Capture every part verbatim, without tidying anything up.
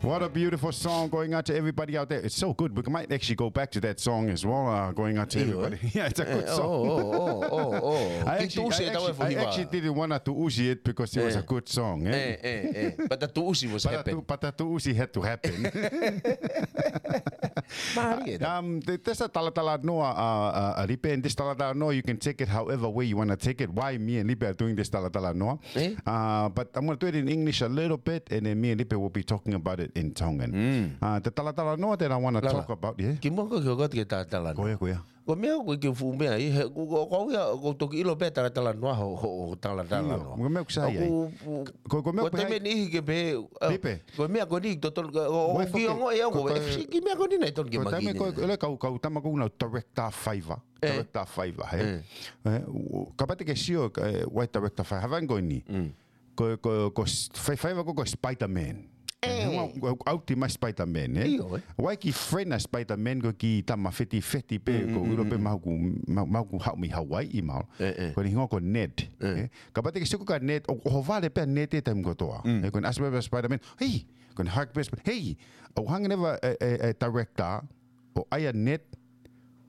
What a beautiful song, going out to everybody out there. It's so good. We might actually go back to that song as well, uh, going out to everybody. Yeah, it's a good song. I actually, I actually didn't want to tuʻusi it because it was a good song, eh? But the tuʻusi was happening. But the tuʻusi had to happen. Um, te-, te sa talatalanoa, uh, uh, uh, Lipe, and this talatalanoa, you can take it however way you wanna take it. Why me and Lipe are doing this talatalanoa? Uh, but I'm gonna do it in English a little bit, and then me and Lipe will be talking about it in Tongan. Uh, the talatalanoa that I wanna talk about, yeah? Kimuʻa ko e kiʻi hoko atu ki he talatalanoa. Ko ia, ko ia. Ko e meʻa ko e kiʻi fuʻu meʻa ia, he, ko, ko, ko ia, ko e toki ʻilo pē talatalanoa ho, ho, ho talatalanoa. Ko e meʻa ʻoku sai ai. Ko, ko e meʻa ʻoku sai ai. Ko e meʻa ko eni ke pehē, uh, Lipe. Ko e meʻa ko eni totonu, ko, ko, ko e kiʻi ongoʻi au ko e, kiʻi meʻa ko eni naʻe totonu ke mahino. Ko e taimi ko e, ko e kau, kau tama ko ena director faiva. Director faiva, he? Kapau te ke sio, eh, ʻa e director faiva, hangē ko eni. Ko, ko, ko s-, fai-, faiva ko, ko Spider-Man. He, ʻoku, ʻoku ʻauti mai Spider-Man, eh? ʻIo, eh. ʻA e kiʻi friend ʻa Spider-Man ko e kiʻi tama fetifeti pē, ko e ʻilo pē mahalo ʻoku, ma-, mahalo ʻoku haʻu mei Hawaiʻi mahalo. Ko ʻene hingoa ko Ned. Eh? Kapau te ke sio ko ē kia Ned, ʻoku, ʻohovale pē ʻa Ned he taimi kotoa. Eh, ko ʻene ʻasi pē Spider-Man, "Hei!" Ko ʻene hug pē Spider-Man, "Hei!" ʻOku hangē leva e, e, e director, ʻo ʻai ʻa Ned,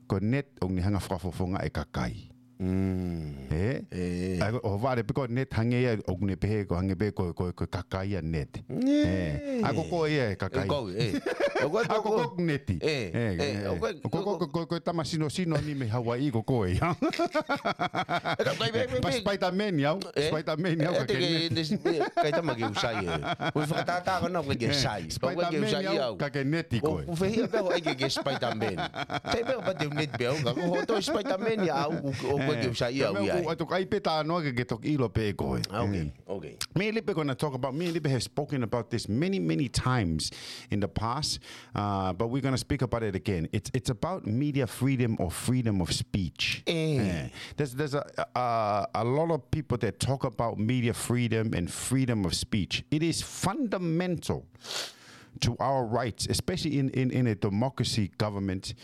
ko Ned ʻoku ne hanga ʻo fakafofongaʻi e kakai. Eh? ʻA ia ʻohovale pē ko Ned hangē ia ʻoku ne pehē ko hangē pē ko, ko, ko e kakai ʻa Ned. Eh. ʻA ia ko koe ia e kakai. Ko au, eh. ʻA ia ko koe ko Ned. Eh, eh, ko, ko, ko, ko e tama sinosino ni mei Hawaiʻi ko koe ia. But Spider-Man ia au. Spider-Man ia au ka ke Ned. Kai tama ke u sai e. Ko e fakatātā ko ena ʻoku ʻikai ke sai. Spider-Man ia au ka ke Ned koe. ʻOku fēfē pē ʻoku ʻikai ke Spider-Man. Sai pē ʻoku pau te u Ned pē au ka ko hoʻo toe Spider-Man ia au ʻoku, ʻoku ʻikai ke u sai ia au ia. Ko e meʻa ʻoku ʻai pē talanoa ke ke toki ʻilo pē koe. Ah, okay, okay. Me and Lipe gonna talk about, me and Lipe have spoken about this many, many times in the past, uh, but we're gonna speak about it again. It's, it's about media freedom or freedom of speech. Eh. There's, there's a, a, a lot of people that talk about media freedom and freedom of speech. It is fundamental to our rights, especially in, in, in a democracy government,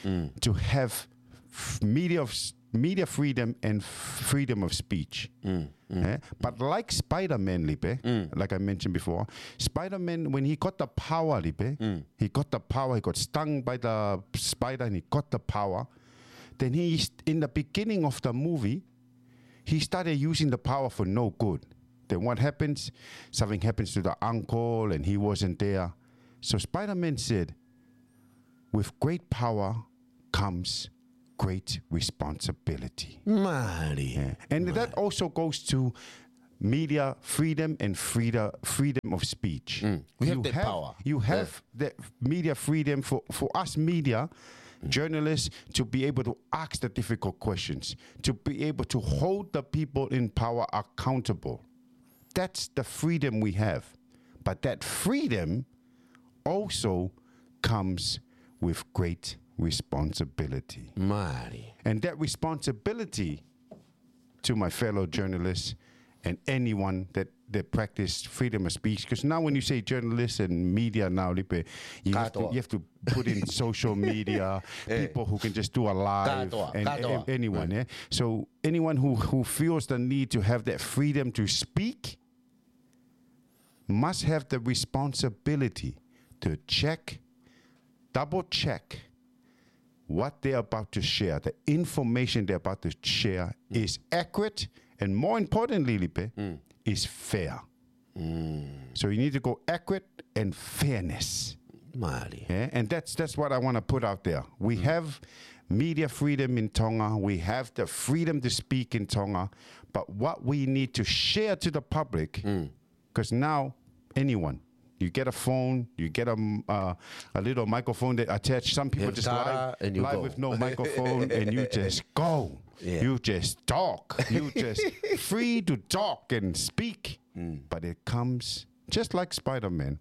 to have f-, media of s-, media freedom and freedom of speech. Eh? But like Spider-Man, Lipe, like I mentioned before, Spider-Man, when he got the power, Lipe, he got the power, he got stung by the spider and he got the power. Then he, in the beginning of the movie, he started using the power for no good. Then what happens? Something happens to the uncle and he wasn't there. So Spider-Man said, "With great power comes great responsibility." Mālie. Yeah. And that also goes to media freedom and freedom, freedom of speech. We have that power. You have the media freedom for, for us media journalists to be able to ask the difficult questions, to be able to hold the people in power accountable. That's the freedom we have. But that freedom also comes with great responsibility. Mālie. And that responsibility to my fellow journalists and anyone that, that practice freedom of speech. 'Cause now when you say journalists and media now, Lipe, you have to, you have to put in social media, people who can just do a live, and anyone, eh? So anyone who, who feels the need to have that freedom to speak must have the responsibility to check, double check what they're about to share, the information they're about to share is accurate, and more importantly, Lipe, is fair. So you need to go accurate and fairness. Mālie. Yeah, and that's, that's what I wanna put out there. We have media freedom in Tonga. We have the freedom to speak in Tonga. But what we need to share to the public, 'cause now anyone, you get a phone, you get a, uh, a little microphone that attach. Some people just live, live with no microphone, and you just go. You just talk. You just free to talk and speak. But it comes just like Spider-Man.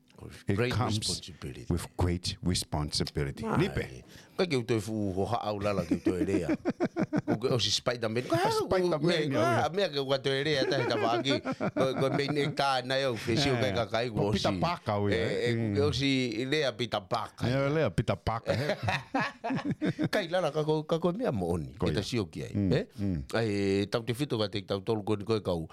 It comes with great responsibility. Lipe. Ka ke u toe fuʻu hohaʻa au lala ke u toe lea. Ko ke ʻosi Spider-Man. Ka Spider-Man, ko e meʻa ke u toe lea tahi tavaki. Ko, ko e meʻa eni ka nai au fesi o kai kakai ko ʻosi. Peter Parker au ia. Eh, eh, ko ke ʻosi lea Peter Parker. Ia, lea Peter Parker. Kai lala ka ko, ka ko e meʻa moʻoni. Ke ta sio ki ai. Eh? Ai, tautefito ka te tautolu ko eni ko e kau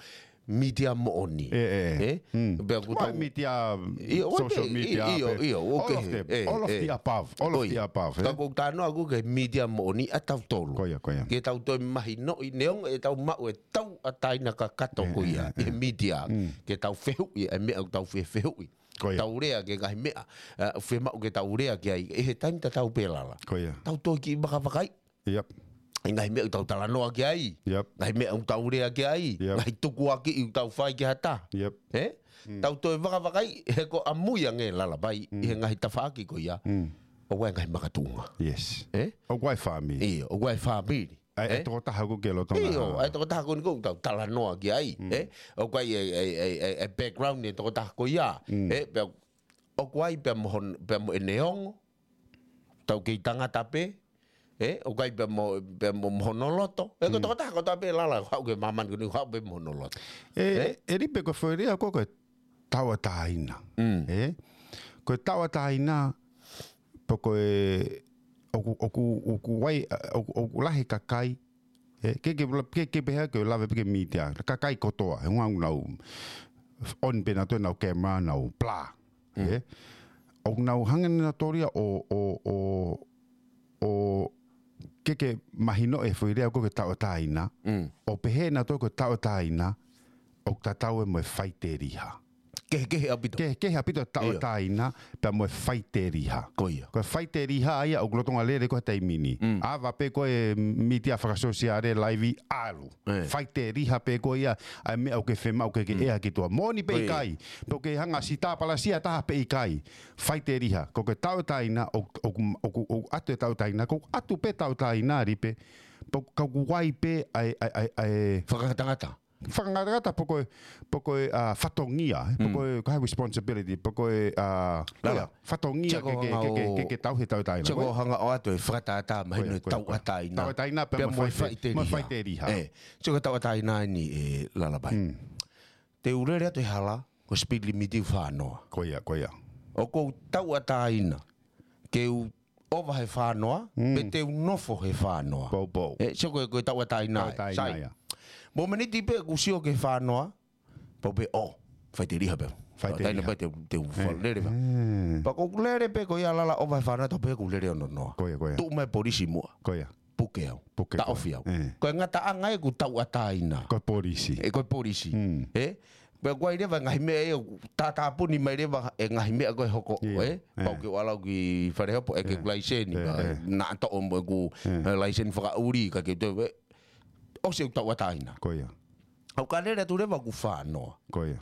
mītia moʻoni. ʻE, ʻe. ʻE? Mm. Pea ko ʻetau mītia, ʻio, ʻo social media, ʻio, ʻio, ʻio, all of them, all of the above, all of the above, ʻe? Ka ko ʻeku talanoa ʻaʻaku ki he mītia moʻoni ʻa tautolu. Ko ia, ko ia. Ke tau toe mahinoʻi neongo ʻetau maʻu e tauʻatāina kakato ko ia, ʻe, ʻe, ʻi he mītia. Mm. Ke tau fehuʻi, ʻa e meʻa ʻoku tau fefehuʻi. Ko ia. Tau lea ki he ngaahi meʻa, ʻa, fiemaʻu ke tau lea ki ai, ʻi he taimi tatau pē Lala. Ko ia. Tau toe kiʻi vakavakaiʻi. Yep. ʻI he ngaahi meʻa ʻoku tau talanoa ki ai. Yep. Ngaahi meʻa ʻoku tau lea ki ai. Yep. Ngaahi tukuakiʻi ʻoku tau fai ki ha taha. Yep. ʻE? Mm. Tau toe vakavakaiʻi he ko ʻamui ange Lala Vai, mm, ʻi he ngaahi tafaʻaki ko ia. Mm. ʻOku ʻi ai e ngaahi makatuʻunga. Yes. ʻE? ʻOku ʻi ai e fāmili. ʻIo, ʻoku ʻi ai e fāmili. ʻA e, ʻe? ʻA e tokotaha ʻoku ke lolotonga. ʻIo, ʻa e tokotaha ko eni ʻoku tau talanoa ki ai. Mm. ʻE? ʻOku ʻi ai e, e, e, e, e background ʻo e tokotaha ko ia. Mm. ʻE? Pea ʻoku ʻi ai pea mo hon-, pea mo ʻene ongo. Tau kei tangata pē. ʻE? ʻOku ʻi ai pea mo, pea mo, mo hono loto. ʻE, ko e, mm, tokotaha kotoa pē Lala, haʻu ki māmani ko eni, haʻu pē mo hono loto. ʻE, ʻe? ʻE Lipe, ko e foʻi lea ko ē ko e tauʻatāina. Mm. ʻE? Ko e tauʻatāina, pe ko e, ʻoku, ʻoku, ʻoku ʻi ai, ʻoku, ʻoku lahi e kakai, ʻe, ke, ke, ke, ke pehē ke lave pē ki he mītia. Kakai kotoa, he ʻoku nau, nau on pē nautolu ʻenau camera, nau blah. Mm. ʻE? ʻOku nau hanga nautolu ia ʻo, ʻo, ʻo, ʻo ke, ke mahinoʻi e foʻi lea ko ē ko e tauʻatāina. Mm. ʻO pehē nautolu ko e tauʻatāina, ʻoku tatau ia mo e faiteliha. Kehekehe ʻaupito. Kehekehe ʻaupito e, ʻio, tauʻatāina, pea mo e faiteliha. Ko ia. Ko e faiteliha ia ʻoku lolotonga lele ko ē he taimi ni. Mm. ʻAva pē ko e mītia fakasōsiale, laivi, ʻalu. ʻE. Faiteliha pē ko ia, ʻa e meʻa ʻoku ke fiemaʻu ke, ke, mm, ʻea ki tuʻa. Moʻoni pe ʻikai, pe ʻoku ke hanga ʻo sitapalasia ha taha pe ʻikai. Faiteliha, ko e tauʻatāina, ʻo, ʻo, ʻo, ʻo, ʻoatu e tauʻatāina, ʻoku ʻatu pē tauʻatāina, Lipe, pe ʻoku, ka ʻoku ʻi ai pē ʻa e, ʻa e, ʻa e, ʻa e fakangatangata. Fakangatangata pe ko e, pe ko e, ʻa, fatongia, pe, mm, ko e, ko e responsibility, pe ko e, ʻa, Lala, ia, fatongia ke, ke, ke, ke, ke, ke tauhi e tauʻatāina. Ko ia. Ko ia. Ko e hanga ʻo ʻoatu e fakatātā mahino e tauʻatāina. Ko ia, ko ia. Tauʻatāina pea mo e faite-, mo e faiteliha. Ko ia. Faiteliha. ʻE, sio ki he tauʻatāina eni ʻe Lala Vai. Mm. Te u lele atu he hala, ko e speed limit ʻoku fā noa. Ko ia, ko ia. ʻOku ou tauʻatāina ke u ʻova he fā noa, mm, pe te u nofo he fā noa. Pou, pou. ʻE, sio ko e, ko e tauʻatāina ē. Tauʻatāina ia. Sai. Mōmeniti pē ʻoku ou sio ki he fā noa, pau pē ʻo, faiteliha pē. Faiteliha. Tauʻatāina pē te, te u, ʻe, fā lele pē. ʻE. Pea ko ʻeku lele pē ko ia Lala ʻova he fā noa, tau pē ʻeku lele ono noa. Ko ia, ko ia. Tuʻu mai e polisi muʻa. Ko ia. Puke au. Puke koe. Taʻofi au. ʻE. Ko e ngataʻanga ia ʻeku tauʻatāina. Ko e polisi. ʻE, ko e polisi. Mm. ʻE? Pea ʻoku ʻi ai leva e ngaahi meʻa ia, tātāpuni mai leva e ngaahi meʻa ko ē ʻe hoko, ʻio, ʻe? ʻE. Pau ke u ʻalu au ki fale hopo, ʻeke, ʻe, ʻeku laiseni, ʻe, ka, ʻe, naʻa toʻo mo ʻeku, ʻe, ʻe, laiseni fakaʻuli, ka ke te, ʻe, ʻosi ʻeku tauʻatāina. Ko ia. ʻOku ou lele atu leva ʻoku fā noa. Ko ia.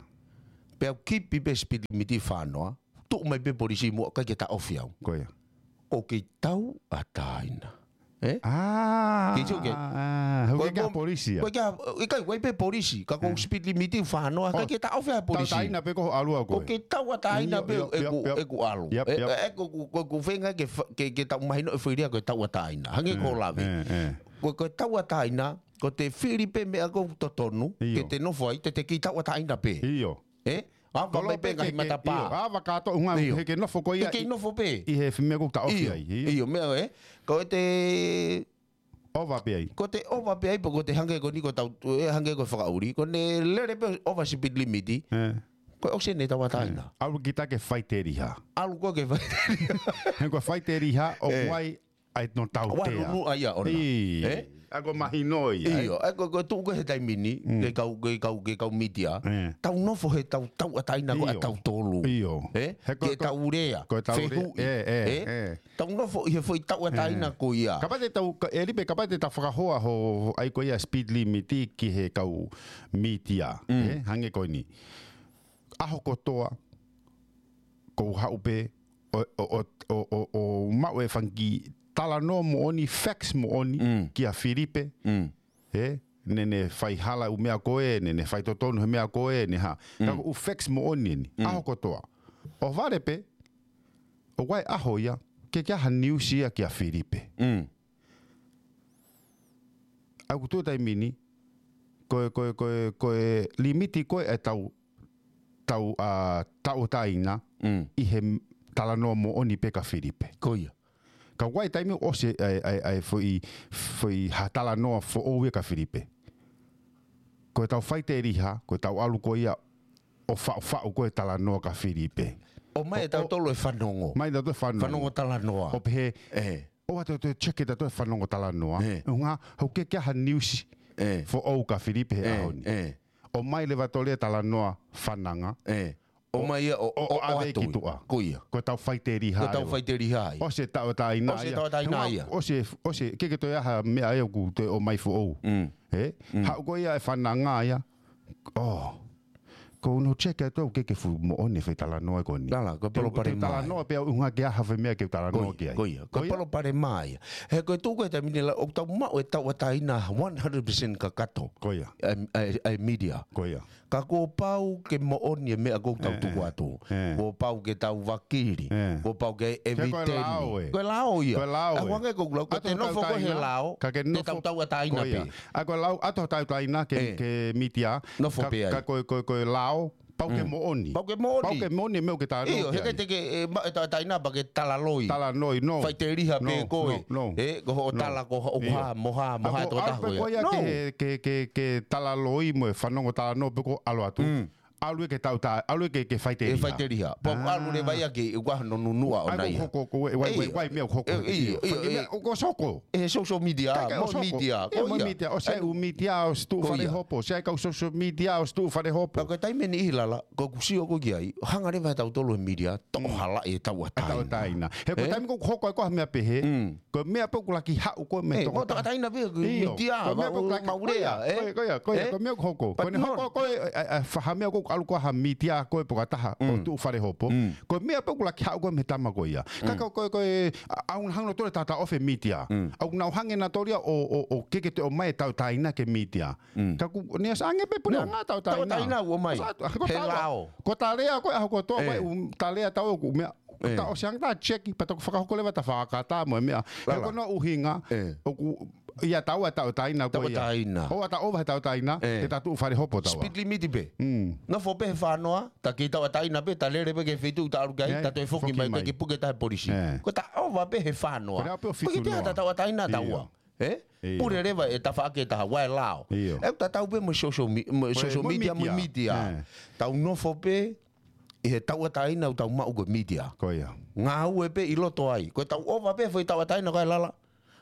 Pea u kipi pē speed limit fā noa, tuʻu mai pē polisi muʻa ʻikai ke taʻofi au. Ko ia. ʻOku ou kei tauʻatāina. ʻE? ʻA, ke sio ke. ʻA, ʻa, ʻoku ʻikai ke ʻi ai ha polisi ia. ʻOku ʻikai ke ʻi ai, ʻikai, ʻoku ʻi ai pē polisi. Ka ko e, ʻe, speed limit fā noa, ʻikai ke taʻofi ha polisi. Tauʻatāina pē ko hoʻo ʻalu au ko ē. ʻOku ou kei tauʻatāina pē ʻeku, ʻeku ʻalu. Yep, yep. ʻE, ʻe, ko, ko, ko, ko e feinga ke fa-, ke, ke tau mahino e foʻi lea ko e tauʻatāina. Hangē ko e, ʻe, lave. ʻE, ʻe. Ko, ko e tauʻatāina, ko ʻete fili pē meʻa ʻoku totonu, ʻio, ke te nofo ai, te te kei tauʻatāina pē. ʻIo. ʻE? ʻAva mai pē ngaahi matapā. ʻIo, ʻava kātoa ʻuhinga, ʻio, he ke nofo ko ia. Te kei nofo pē. ʻI he meʻa ʻoku taʻofi ai. ʻIo, ʻio, meʻa ē. Ko ʻete ʻova pē ai. Ko ʻete ʻova pē ai, pe ko ʻete hangē ko eni ko ʻetau, ʻe hangē ko e fakaʻuli. Ko ʻene lele pē ʻova speed limit. ʻE. Ko e ʻosi ʻene tauʻatāina. ʻE. ʻAlu kita ke faiteliha. ʻAlu koe ke faiteliha. He ko e faiteliha, ʻoku, ʻe, ʻi ai ʻa hono tautea. ʻOku ʻi ai hono nunu ʻa ia ʻona. ʻIo. ʻE? ʻA ia ko e mahino ia, ē? ʻIo, ʻa ia ko, ko e tuʻu ko ē he taimi ni, mm, ki he kau, ki he kau, ki he kau mītia. ʻE. Tau nofo he tau, tauʻatāina ko ē ʻa, ʻio, tautolu. ʻIo. ʻE? He ko, ki heʻetau lea, ko ʻetau lea, fehuʻi. ʻE, ʻe, ʻe? Tau nofo ʻi he foʻi tauʻatāina, ʻe, ko ia. Kapau te tau, ka, ʻe Lipe, kapau te tau fakahoa ho, ʻa ia ko ia speed limit ki he kau mītia. Mm. ʻE? Hangē ko eni. ʻAho kotoa, ʻoku ou haʻu pē ʻo, ʻo, ʻo maʻu e fanga kiʻi talanoa moʻoni, facts moʻoni, mm, kia Filipe. Mm. ʻE, naʻá ne fai hala ʻū meʻa ko ē, naʻá ne fai totonu he meʻa ko ē, ne hā. Mm. Ka ko e ʻū facts moʻoni eni, mm, ʻaho kotoa. ʻOhovale pē, ʻoku ʻi ai e ʻaho ia, ʻikai ke ʻi ai ha news ia kia Filipe. Mm. ʻA ia ʻoku tuʻu he taimi ni, ko e, ko e, ko e, ko e limit ko ē ʻetau, tau, ʻa, tauʻatāina, mm, ʻi he talanoa moʻoni pē kia Filipe. Ko ia. Ka ʻoku ʻi ai e taimi ʻoku ʻosi ʻa e, ʻa e, ʻa e foʻi, foʻi ha talanoa foʻou ia kia Filipe. ko e tau faiteliha, ko e tau ʻalu ko ia ʻo faʻufaʻu ko e talanoa ka Filipe. ʻOmai ʻe tautolu e fanongo. Mai tautolu e fanongo. Fanongo talanoa. ʻO pehē, ʻe, ʻoua te tau check ʻe tautolu e fanongo talanoa. ʻE. ʻUhinga, hoko ke ʻi ai ha niusi foʻou ka Filipe he ʻaho ni. ʻE. ʻOmai leva tautolu e talanoa fananga. ʻE. ʻOmai ia ʻo, ʻo, ʻo ʻave ki tuʻa. Ko ia. Ko e tau faiteliha. Ko e tau faiteliha ia. ʻOsi e tauʻatāina ia. ʻOsi e tauʻatāina ia. ʻOsi e, ʻosi e, ke ke toe ʻi ai ha meʻa ia ʻoku toe ʻomai foʻou. Mm. ʻE? Mm. Haʻu ko ia e fananga ia. ʻO. Ko no check atu ke ke fuʻu moʻoni e fai talanoa ko eni. Lala, ko e palopalema ia. Talanoa pea ʻuhinga ke ʻi ai ha fai meʻa ke talanoa ki ai. Ko ia, ko ia. Ko e palopalema ia. He ko e tuʻu ko e taimi ni la, ʻoku tau maʻu e tauʻatāina one hundred percent kakato. Ko ia. ʻA e, ʻa e, ʻa e media. Ko ia. Ka kuo pau ke moʻoni e meʻa ʻoku tau tuku atu. ʻE. Kuo pau ke tau vakili. ʻE. Kuo pau ke evidence. Ko e lao ē. Ko e lao ia. Ko e lao ē. ʻA e ʻuhinga ko e lao, ka te nofo ko e he lao, ka ke nofo tauʻatāina pē. Ko ia. ʻA ko e lao ʻato tauʻatāina ke, ke media. Nofo pē ai. Ka ko e, ko e, ko e lao, pau ke moʻoni. Pau ke moʻoni. Pau ke moʻoni e meʻa ʻoku ke talanoa ki ai. ʻIo, he ʻikai te ke, ʻe, ma-, ʻe tauʻatāina pea ke talaloi. Talaloi, no. Faiteliha pē koe. No, no. ʻE, ko hoʻo tala ko hoʻo hā, mo hā, mo hā e tō taha ko ia. No. Ke, ke, ke, ke talaloi mo e fanongo talanoa pē ko ʻalu atu. Mm. ʻAlu ia ke tauʻatāina, ʻalu ia ke, ke faiteliha. ʻE faiteliha. Pau ʻalu leva ia ke, ʻe ʻuhinga no nunuʻa ʻona ia. Hoko, ko e, ʻe, ʻe, ʻe, ʻe, ʻe, ʻe, ʻe, ʻe, ʻe, ʻo ko soko. ʻE he social media, mo media, ko ia. Mo media, ʻosi e ʻū media, ʻosi tuʻu fale hopo, ʻosi e kau social media, ʻosi tuʻu fale hopo. Ka ko e taimi ni ʻi he lala, ko ʻeku sio ko ē ki ai, hanga leva ʻe tautolu e media, toʻo hala e tauʻatāina. Tauʻatāina. He ko e taimi ko ē ʻoku hoko ai ko ha meʻa pehē, ko e meʻa pē ʻoku laki haʻu ko ē mei he toko taha. Tauʻatāina pē, ko e media, ko e meʻa pē ʻoku laki haʻu ia, ko e, ko e, ko e meʻa ʻoku hoko. Ko ʻene hoko ko ē, ʻa, ʻa, ʻa, ha meʻa ʻoku ʻalu ko ē ha media ko ē poka taha, ʻo tuʻu fale hopo. Ko e meʻa pē ʻoku laki haʻu ko ē mei he tama ko ia. Ka ko e, ko e, ko e, ʻa, ʻoku nau hanga ʻo tole tata off e media. ʻOku nau hanga ʻe nautolu ia ʻo, ʻo, ʻo ke ke te ʻomai e tauʻatāina ki he media. Ka ʻoku ne ʻosi ange pē puleʻanga tauʻatāina. Tauʻatāina ʻoku ʻomai. He lao. Ko e talea ko ē ʻaho kotoa, ko e ʻū talea tau ʻoku meʻa. Ko e tau ʻosi ange ta check, pea toki fakahoko leva ta fakakata mo e meʻa. He ko hono ʻuhinga, ʻoku ʻi ai taua tauʻatāina ko ia. Tauʻatāina. ʻOua ta ʻova he tauʻatāina, te ta tuʻu fale hopo taua. Speed limit pē. Nofo pē he fānoa, ta kei tauʻatāina pē, ta lele pē ki he feituʻu ta ʻalu ki ai, ta toe foki mai, ta kei puke taha e polisi. Ko e ta ʻova pē he fānoa. Ko e ʻapi ʻo fitu noa. Ko e ke te ʻata tauʻatāina taua. ʻE? Pule leva e tafaʻaki ʻe taha, ʻa e lao. ʻE ʻoku tatau pē mo e social me-, mo e social media, mo e media. Tau nofo pē ʻi he tauʻatāina ʻoku tau maʻu ko e media. Ko ia. Ngāue pē ʻi loto ai. Ko e tau ʻova pē foʻi tauʻatāina ko e lala.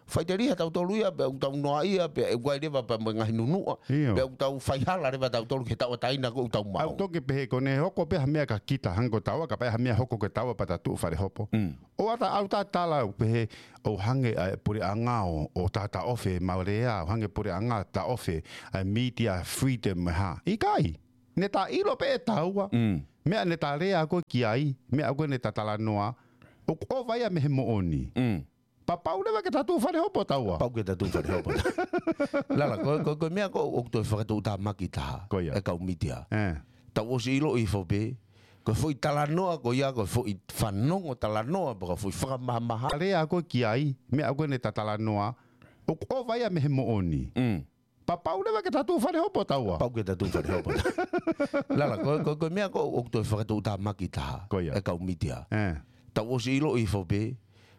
Faiteliha tautolu ia, pea ʻoku tau noaʻia, pea ʻe ʻai leva pea mo e ngaahi nunuʻa. Pea ʻoku tau faihala leva tautolu ki he tauʻatāina ko ē ʻoku tau maʻu. ʻOku toki pehē ko ʻene hoko pē ha meʻa kia kita, hangē ko taua, kapau ʻe ʻi ai ha meʻa hoko kia taua pea ta tuʻu fale hopo. ʻOua ta ʻalu ta tala ʻo pehē ʻoku hangē ʻa e puleʻanga ʻo, ʻo tata off e maulea, ʻoku hangē puleʻanga tata off e media freedom mo e hā. ʻIkai, ne ta ʻilo pē ʻe taua. Meʻa ne ta lea ko ē ki ai, meʻa ko ē ne ta talanoa, ʻoku ʻova ia mei he moʻoni. Pea pau leva ke ta tuʻu fale hopo taua. Pau ke ta tuʻu fale hopo taua. Lala, ko, ko, ko e meʻa ko ē ʻoku toe fakatuʻutāmaki taha. Ko ia. ʻE kau media. Tau ʻosi ʻilo hifo pē, ko e foʻi talanoa ko ia, ko e foʻi fanongo talanoa, pea ko e foʻi fakamahamaha. Lea ko ē ki ai, meʻa ko ē ne ta talanoa, ʻoku ʻova ia mei he moʻoni. Pea pau leva ke ta tuʻu fale hopo taua. Pau ke ta tuʻu fale hopo taua. Lala, ko, ko, ko e meʻa ko ē ʻoku toe fakatuʻutāmaki taha. Ko ia. ʻE kau media. Tau ʻosi ʻilo hifo pē,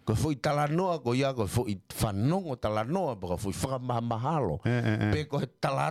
ko e foʻi talanoa ko ia, ko e foʻi fanongo talanoa, pea ko e foʻi fakamahamahalo. Pe ko e tala